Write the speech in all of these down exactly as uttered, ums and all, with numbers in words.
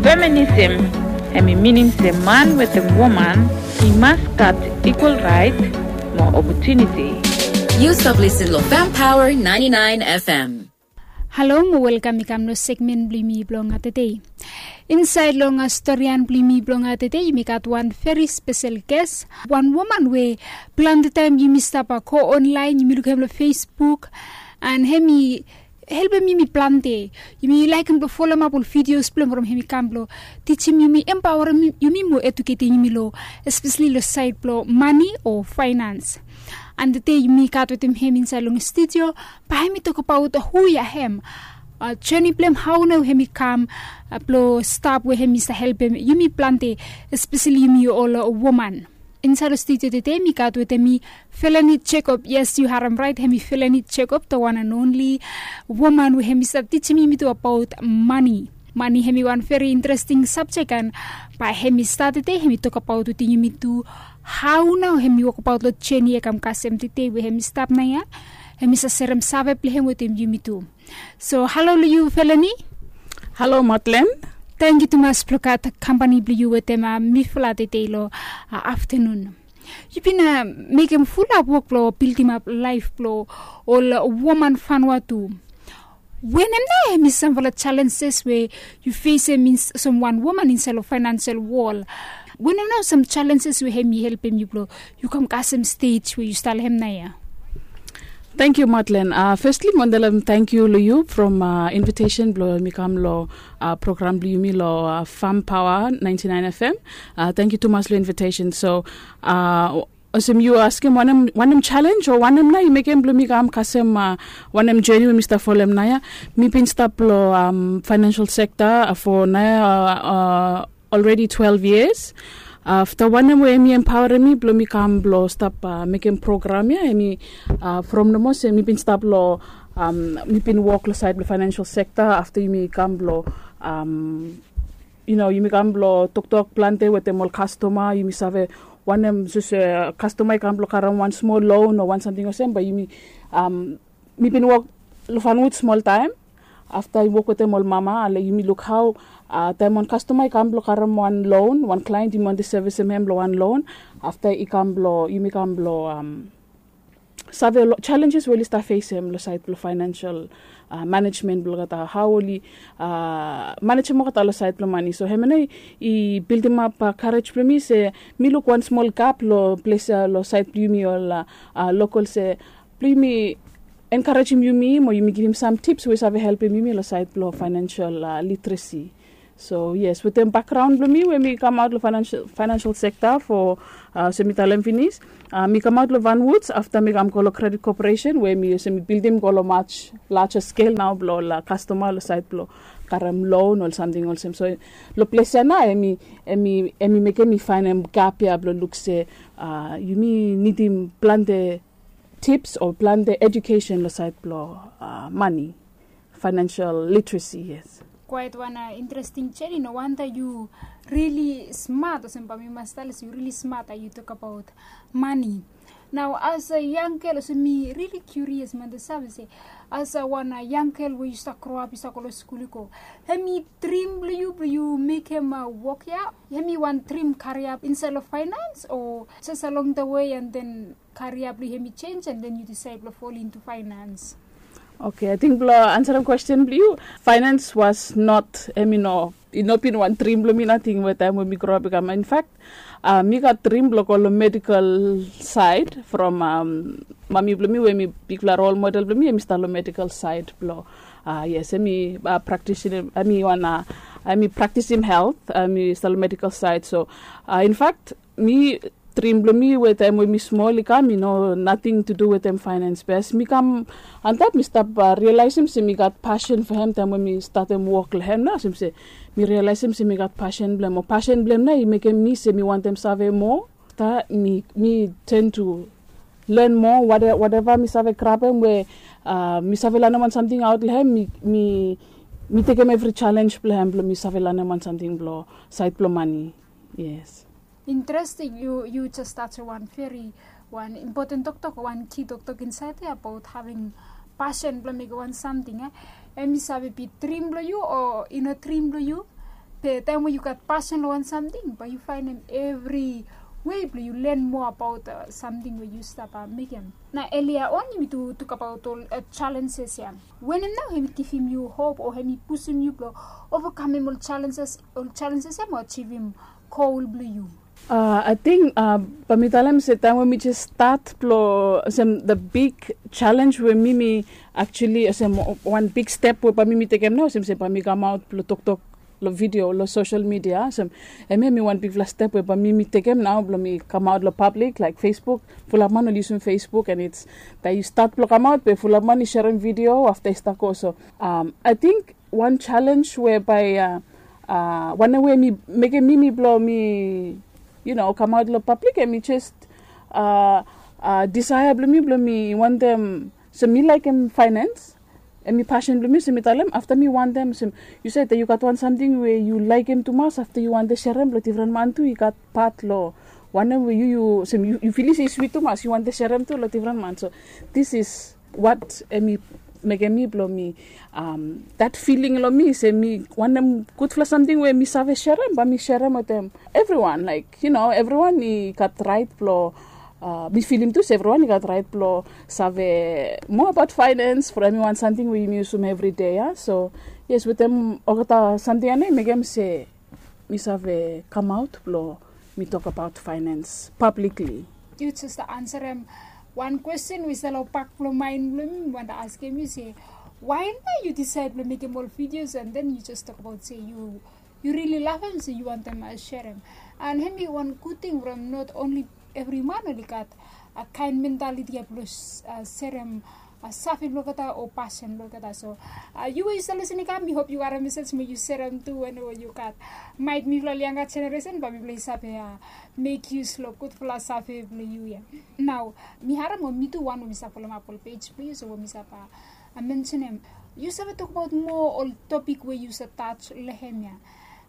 Feminism, hemi minim se man wetem woman i mas gat ikwal raet mo opotuniti. Yu stap lisin long Fem Power ninety-nine F M. Halo mo welkam i kam long segmen blong yumi blong tede. Insaed long storian blong yumi blong tede, yumi gat wan veri spesel ges, wan woman we plante taem yumi stap go onlaen, yumi lukim hem long Facebook, and hemi helpem yumi plante. Yumi laekem blong folomap ol videos blong hem from hemi kam blong tijim yumi, empaorem yumi mo eduketem yumi long, espeseli long saed blong mane o faenans. And tede yumi gat wetem hem insaed long studio, bae hemi tokbaot hu ya hem, joni blong hem, hao nao hemi kam blong stap we hemi save helpem yumi plante, espeseli yumi ol woman. Insaed long studio tede mi gat wetem mi Felani Jacob. Yes, yu harem raet, hemi Felani Jacob, the one and only woman we hemi stap tijim yumi tu abaot mane. Mane hemi wan veri interesting sabjek, and bae hemi stat tede hemi tokbaot wetem yumi tu hao nao hemi wokbaot long joni ya kam kasem tede we hemi stap naoia. Hemi save serem save blong hem wetem yumi tu. So halo long yu Felani. Halo Matlen. Tangkiu tumas blong gat kampani blong yu wetem mifala tede long aftanun. Yu bin mekem fulap wok blong bildimap laef blong ol woman Vanuatu. Wanem nao hemi samfala jalenjes we yu fesem olsem wan woman insaed long faenansel wol? Wanem nao sam jalenjes we hemi helpem yu blong yu kam kasem stej we yu stap long hem naoia? Tangkiu Matlen. Festli mi wantem talem tangkiu long yu from invitesen blong mi kam long program blong yumi long Fem Power ninety-nine F M. Tangkiu tumas long invitesen. So olsem yu askem wanem, wanem jalenj o wanem nao i mekem blong mi kam kasem wanem joni we mi stap folem naoia. Mi bin stap long faenensel sekta fo naoia already twelve years. Afta wanem we hemi empaorem mi blong mi kam blong stap mekem program ya, hemi from nomo se mi bin stap long, mi bin wok long saed blong faenensel sekta, afta yumi kam blong, yu no, yumi kam blong toktok plante wetem ol kastoma, yumi save wanem, sapos kastoma i kam blong karem wan smol loan o wan samting olsem, bae yumi, mi bin wok long Vanuatu smol taem. Afta i wok wetem ol mama, ale yumi luk hao taem wan kastoma i kam blong karem wan loan, wan klaen yumi wantem sevisem hem long wan loan. Afta i kam blong, yumi kam blong save ol jalenjes we oli stap fesem long saed blong faenensel manejmen blong olgeta, hao oli manejem olgeta long saed blong mane. So hemia nao i bildimap karej blong mi se mi luk wan smol gap long ples ya long saed blong yumi ol lokol se blong yumi enkarejem yumi mo yumi givim sam tips we i save helpem yumi long saed blong faenensel literesi. So yes, wetem bakgraon blong mi we mi kamaot long faenensel sekta fo, olsem mi talem finis, mi kamaot long Vanuatu afta mi kam go long Credit Corporation we mi olsem mi bildim go long much larger scale nao blong ol kastoma long saed blong karem loan o samting olsem. So long ples ya nao hemi, hemi mekem mi faenem gap ya blong luk se yumi nidim plante tips o plante ejukesen long saed blong mane, faenensel literesi, yes. Kwaet wan interesting joni. No wanda yu rili smat, olsem bae mi mas talem se yu rili smat hao yu tokbaot mane. Nao as a yang gel, olsem mi rili kiurios mi wantem save se as a wan yang gel we yu stap groap, yu stap go long skul, yu go, hemi drim blong yu blong yu mekem wok ya? Hemi wan drim karia insaed long faenans o jes along the way and then karia blong yu hemi jenj and then yu disaed blong fall into finance? Oke, ating blong ansarem kwesten blong yu, finance was not, hemi no, i no bin wan drim blong mi nating we taem we mi groap i kam. In fact mi gat drim blong go long medical saed from mami blong mi we hemi bigfala role model blong mi, hemi stap long medical saed blong, yes, hemi praktisim, hemi wan, hemi praktisim helt, hemi stap long medical saed. So in fact mi, drim blong mi we taem we mi smol i kam i no nating tu du wetem faenans. Be as mi kam antap mi stap rialaesem se mi gat pasen fo hem taem we mi statem wok long hem nao, olsem se mi rialaesem se mi gat pasen blong hem, o pasen blong hem nao i mekem mi se mi wantem save moa. Afta mi, mi ten tu len moa, wate, wateva mi save grabem we mi save lanem wan samting aot long hem, mi, mi, mi tekem evri jalenj blong hem blong mi save lanem wan samting blong saed blong mane. Yes. Interesting, yu, yu jes tajem wan veri, wan impoten toktok, wan ki toktok insaed ya abaot having pasen blong mekem wan samting, e? Hemi save bi drim blong yu o i no drim blong yu, Taem we yu gat pasen long wan samting, bae yu faenem evri wei blong yu len moa abaot samting we yu stap mekem. Na elia on yumi tu tokabaot ol challenges ya. Wanem nao hem i givim yu hop o hem i pusum yu blong ovakamem ol challenges ol challenges ya mo ajivim gol blong yu? Ating bae mi talem se taem we mi jes stat blong olsem the big challenge we mi mi actually olsem wan big step we bae mi mi tekem nao olsem se bae mi kamaot blong toktok long video long social media olsem. Hemia mi wan bigfala step we bae mi mi tekem nao blong mi kamaot long pablik laik Facebook. Fulap man oli yusum Facebook and it's taem yu stat blong kamaot be fulap man i serem video afta i stap go so. Ating wan challenge we bae wanem we mi mekem mi mi blong mi yu no kamaot long pablik em i jes disaea blong mi blong mi wantem. So mi laekem faenens em i pasen blong mi so mi talem afta mi wantem so yu save yu gat wan samting we yu laekem tumas afta yu wantem serem blong difren man tu i gat pat long wanem we yu yu olsem yu filis i swit tumas yu wantem serem tu long difren man so this is wat em i mekem mi blong mi dat filing long mi se mi wanem gudfala samting we mi save serem bae mi serem wetem evriwan laik yu no evriwan i gat raet blong mi filim tu se evriwan i gat raet blong save moa abaot faenens from em i wan samting we yumi yusum evri dei ya so yes wetem olgeta samting ya nao i mekem se mi save kamaot blong mi tokabaot faenens pablikli. Yu jes ansarem wan kwesten we i stap long bak blong maen blong mi mi wantem askem yu se wae nao yu disaed blong mekem ol videos and then yu jes tokabaot se yu yu rili lavem se yu wantem serem. And hem i wan gud ting from not only evri man oli gat kaen mentaliti ya blong serem save blong olgeta o pasen blong olgeta so yu we yu stap lisin i kam mi hop yu harem mesej mo yu serem tu wanem we yu gat. Maet mifala ol yanga jeneresen bae mifala i save mek yus long gudfala save blong yu ya. Nao mi harem o mi tu wan we mi save folomap ol pej blong yu so we mi save mensenem yu save tokbaot moa ol topik we yu save taj long hem ya.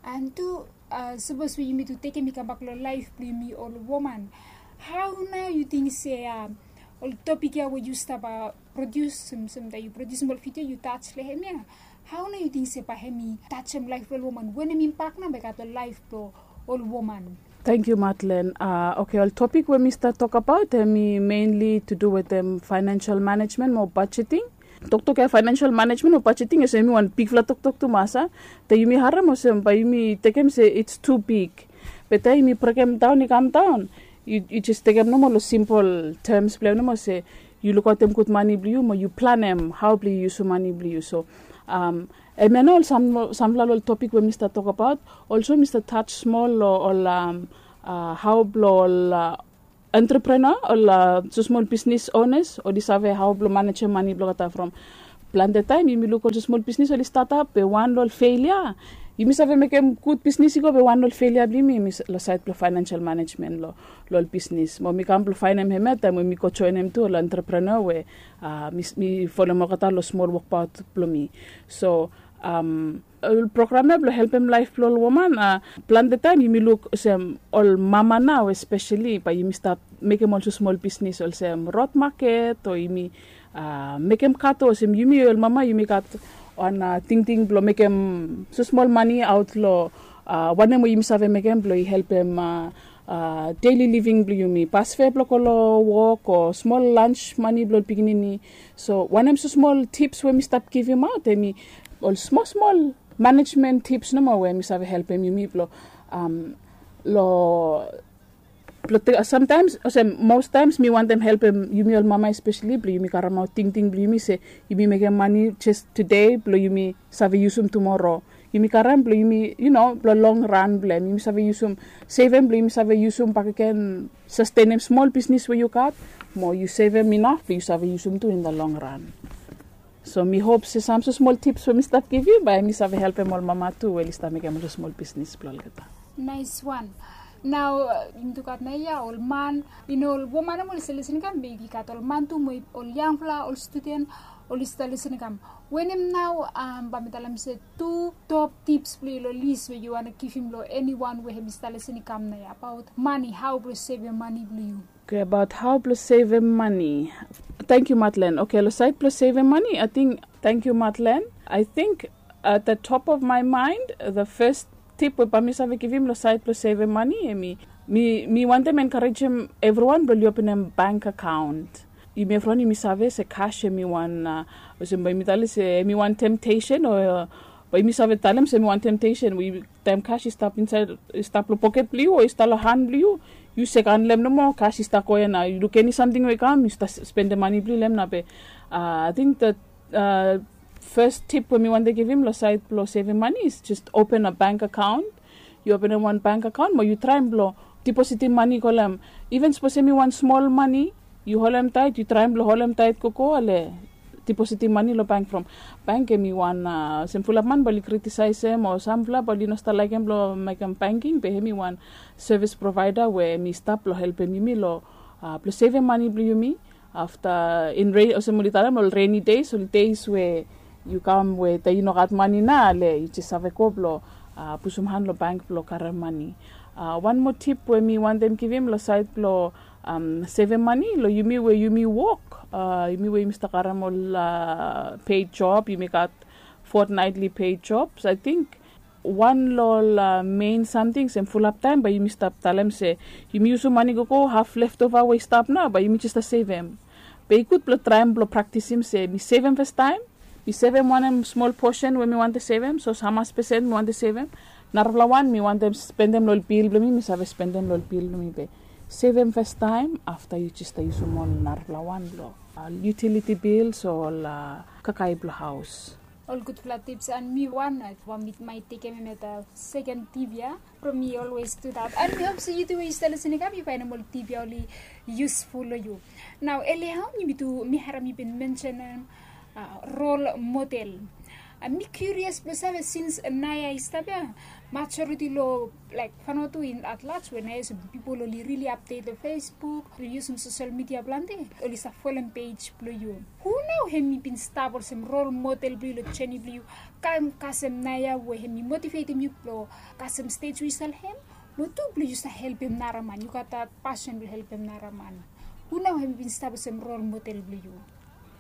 And tu sapos we yumi tu tekem i kambak long laef blong yumi ol woman, hao nao yu ting se ol topik ya we yu stap produsim samtaem yu produsim ol video yu taj long hem ya? Hao nao yu ting se bae hem i tajem laef blong ol woman wanem imbak nao bae i gat long laef blong ol woman? Tangkiu Madlen. Oke ol topik we mi stap tokabaot hem i menli tu du wetem faenensel manejmen mo bajeting. Toktok ya faenensel manejmen o bajeting olsem yumi wan bigfala toktok tumas a. Taem yumi harem olsem bae yumi tekem se its tu big. Be taem yumi brekemdaon i kamdaon yu jes tekem nomo long simpol tems blong em nomo se yu lukaotem gud mane blong yu mo yu planem hao blong yu yusum mane blong yu so. Hemia nao ol samfala long ol topik we mi stap tokabaot. Olso mi stap taj smol long ol hao blong ol entreprenea ol smosmol bisnis onas oli save hao blong manejem mane blong olgeta from plante taem yumi luk ol smosmol bisnis oli stap ap be wan long ol felia. Yumi save mekem gud bisnis i go be wan long ol felia blong yumi long saed blong faenensel manejmen long ol bisnis mo mi kam blong faenem hemia taem we mi go joenem tu ol entreprenea we mi folem olgeta long smol wokbaot blong mi. So ol program ya blong helpem laef blong ol woman plante taem yumi luk olsem ol mama nao espeseli bae yumi stap mekem ol smosmol bisnis olsem rod maket o yumi mekem kato olsem yumi ol mama yumi gat wan tingting blong mekem smosmol mane aot long wanem we yumi save mekem blong i helpem deli living blong yumi basfe blong go long wok o smol lans mane blong ol pikinini. So wanem smosmol tips we mi stap givimaot hem i ol smosmol manejmen tips nomo we mi save helpem yumi blong long blong samtaems olsem mostaems mi wantem helpem yumi ol mama espeseli blong yumi karemaot tingting blong yumi se yumi mekem mane jes tude blong yumi save yusum tumoro. Yumi karem blong yumi yu no blong long ran blong hem yumi save yusum sevem blong yumi save yusum bakegen sastenem smol bisnis we yu gat mo yu sevem inaf blong yu save yusum tu in the long ran. So mi hop se sam smosmol tips we mi stap givim bae mi save helpem ol mama tu we oli stap mekem ol smosmol bisnis blong olgeta. Naes wan. Nao yumi tu gat nao ya ol man i no ol woman nomo oli stap lisin i kam be i gat ol man tu mo ol yangfala ol studen oli stap lisin i kam. Wanem nao bae mi talem se tu top tips blong yu long lis we yu wantem givim long eniwan we hem i stap lisin i kam nao ya abaot mane hao blong sevem mane blong yu? Oke abaot hao blong sevem mane. Tangkiu Madlen. Oke long saed blong sevem mane ating tangkiu Madlen. Ating at the top of my mind the fes Tip we bae mi save givim long saed blong sevem mane, hemi, mi mi wantem enkarejim evriwan blong oli openem bank akaon. Yumi evriwan yumi save se kas hemi wan, olsem bae yumi talem se hemi wan temptesen o bae yumi save talem se hemi wan temptesen we taem kas i stap insaed, i stap long poket blong yu o i stap long han blong yu, yu sek handelem nomo, kas i stap go ia nao, yu luk eni samting we i kam yu stap spendem mane blong yu long hem nao. Be ating the first tip we mi wantem givim long saed blong sevem mane is just open a bank akaon. Yu openem wan bank akaon mo yu traem blong dipositim mane go long hem. Iven sapos hemi wan smol mane yu holem taet, yu traem blong holem taet gogo, ale dipositim mane long bank from bank hemi wan, olsem fulap man bae oli kritisaesem o samfala bae oli no stap laekem blong mekem banking, be hemi wan sevis provaeda we hemi stap blong helpem yumi long blong sevem mane blong yumi. Afta in rei olsem oli talem ol reni deis, ol deis we yu kam we taem yu no gat mane nao, ale yu jes save go blong pusum han long bank blong karem mane. Wan moa tip we mi wantem givim long saed blong sevem mane long yumi we yumi wok, yumi we yumi stap karem ol paed job, yumi gat fortnightly paed job. So ating wan long ol mein samting olsem fulap taem bae yumi stap talem se yumi yusum mane gogo, haf lefova we i stap nao bae yumi jes stap sevem. Be i gud blong traem blong praktisim se mi sevem fastaem, mi sevem wanem smol posen we mi wantem sevem, sapos hamas pesen mi wantem sevem. Narafala wan mi wantem spendem long ol bil blong mi, mi save spendem long ol bil blong mi. Be sevem fastaem, afta yu jes stap yusum ol narafala wan blong ol yutiliti bils o ol kakae blong haos. Ol gudfala tips, and mi wan, mi tekem hem as a seken tip ia from mi, always do that. And mi hop se yu tu we yu stap lisin i kam yu faenem ol tip ia oli yusful long yu. Nao elia on yumi tu, mi harem yu bin mensenem rol model. Mi kiurias blong save, sins naoia i stap ia, majoriti long laek Vanuatu in at large we naoia olsem pipol oli rili apdet long Facebook, oli yusum sosel midia plante, oli stap folem pej blong yu. Hu nao hemi bin stap olsem rol model blong yu long jeni blong yu, kam kasem naoia we hemi motivetem yu blong kasem stej we yu stap long hem, mo tu blong yu stap helpem nara man, yu gat that pasen blong helpem nara man. Hu nao hemi bin stap olsem rol model blong yu?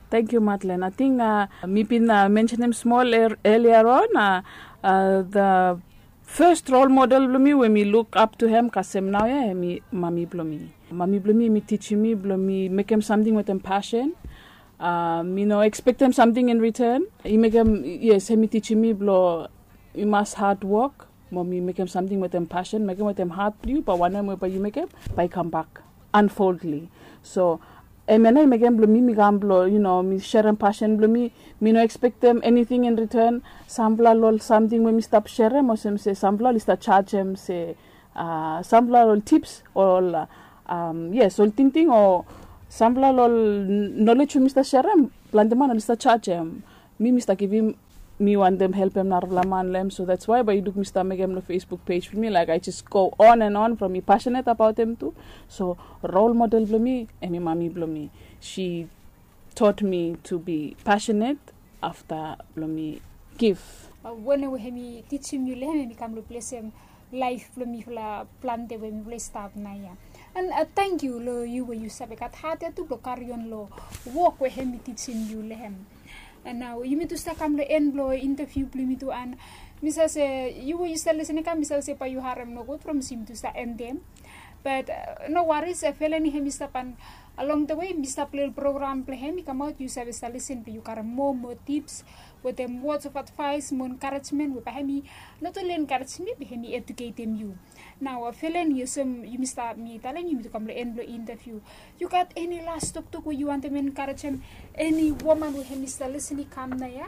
Tangkiu Madlen. Ating mi bin mensenem smol elia on, the fes rol model blong mi we mi luk ap tu hem kasem naoia hemi mami blong mi. Mami blong mi hemi tijim mi blong mi mekem samting wetem pasen. Mi no ekspektem samting in riten. I mekem, yes, hemi tijim mi blong mi mas hadwok mo mi mekem samting wetem pasen, mekem wetem hat blong yu, bae wanem we bae yu mekem bae i kambak unfoldly. So hemia nao i mekem blong mi mi kam blong, yu no, mi serem pasen blong mi. Mi no ekspektem eniting in riten. Samfala long ol samting we mi stap serem, olsem se samfala oli stap jajem se samfala long ol tips o ol, yes, ol tingting o samfala long ol nolej we mi stap serem, plante man oli stap jajem. Mi mi stap givim, mi wantem helpem narafala man long hem. So that's why bae yu luk mi stap mekem long Facebook pej blong mi, laek, I just go on and on from mi pasenet abaot hem tu. So rol model blong mi hemi mami blong mi. She taught me to be passionate afta blong mi gif. Wanem we hemi tijim yu long hem hemi kam long blesem laef blong mifala plante we mifala i stap naoia. And tangkiu long yu we yu save gat hat ia tu blong karion long wok we hemi tijim yu long hem. And nao yumi tu stap kam long en blong intaviu blong yumi tu, and mi save se yu we yu stap lisin i kam, mi save se bae yu harem nogud from se yumi tu stap endem. But no waris, Feleni hemi stap, and along the way mi stap long ol program blong hem i kamaot, yu save stap lisin blong yu karem moa moa tips wetem words of advice mo encouragement we bae hemi not only encourage mi, be hemi educatem yu. Nao Feleni, olsem yumi stap, mi talem yumi tu kam long en blong intaviu, yu gat eni las toktok we yu wantem encouragem eni woman we hemi stap lisin i kam naoia,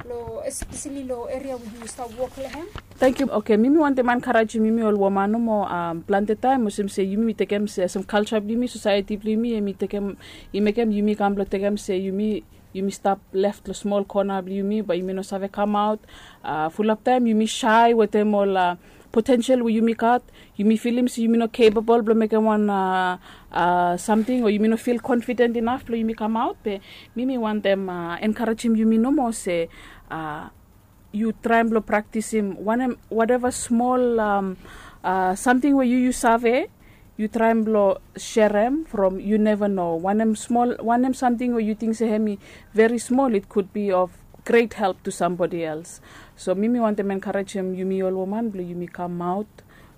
long espeseli long eria we yu stap wok long hem? Tangkiu. Okay, mi mi wantem encouragem yumi ol woman nomo. Plante taem olsem se yumi mi tekem se olsem kalja blong yumi, sosaeti blong yumi, hemi tekem, i mekem yumi kam blong tekem se yumi, yumi stap lef long smol kona blong yumi bae yumi no save kamaot. Fulap taem yumi sae wetem ol potensel we yumi gat. Yumi filim se yumi no capable blong mekem wan samting o yumi no fil confident inaf blong yumi kamaot. Be mi mi wantem encouragem yumi nomo se yu traem blong praktisim wanem, whatever smol samting we yu yu save, yu traem blong serem from, yu neva no wanem smol, wanem samting we yu ting se hemi very small, it could be of great help to somebody else. So mi mi wantem enkarejem yumi ol woman blong yumi kamaot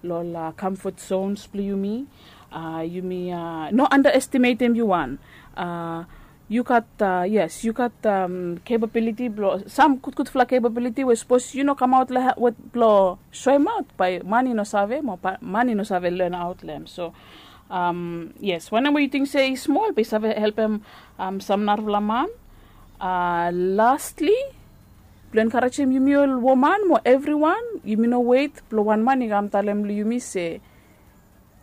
long ol kamfot zones blong yumi. Yumi no andaestimetem yu wan. Yu gat, yes, yu gat capability blong sam gudgudfala capability we sapos yu no kamaot long wet blong soemaot, bae man i no save mo man i no save lenaot long hem. So yes, wanem we yu ting se i smol bae i save helpem sam narafala man. Lastli, blong enkarejem yumi ol woman mo evriwan, yumi no wet blong wan man i kam talem long yumi se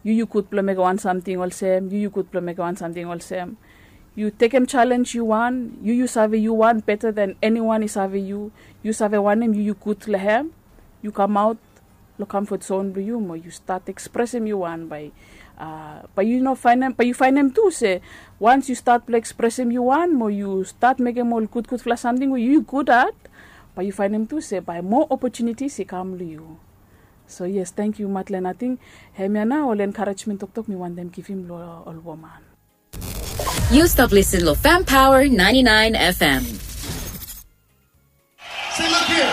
yu yu gud blong mekem wan samting olsem, yu yu gud blong mekem wan samting olsem. Yu tekem jalenj yu wan, yu yu save yu wan beta than eniwan i save yu. Yu save wanem yu yu gud long hem. Yu kamaot long kamfot zon blong yu mo yu stat ekspresem yu wan bae bae yu no faenem bae yu faenem tu se wans yu stat blong ekspresem yu wan mo yu stat mekem ol gudgudfala samting we yu yu gudat, bae yu faenem tu se bae moa opojunitis i kam long yu. So yes, tangkiu Matlen. Ating hemia nao ol enkarejmen toktok mi wantem givim long ol woman. Yu stap lisin long Fam Power ninety-nine F M. Say, look here.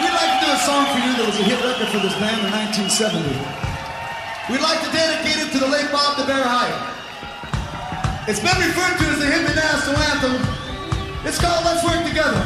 We'd like to do a song for you that was a hit record for this band in nineteen seventy. We'd like to dedicate it to the late Bob the Bear Hyatt. It's been referred to as the hippie national anthem. It's called Let's Work Together.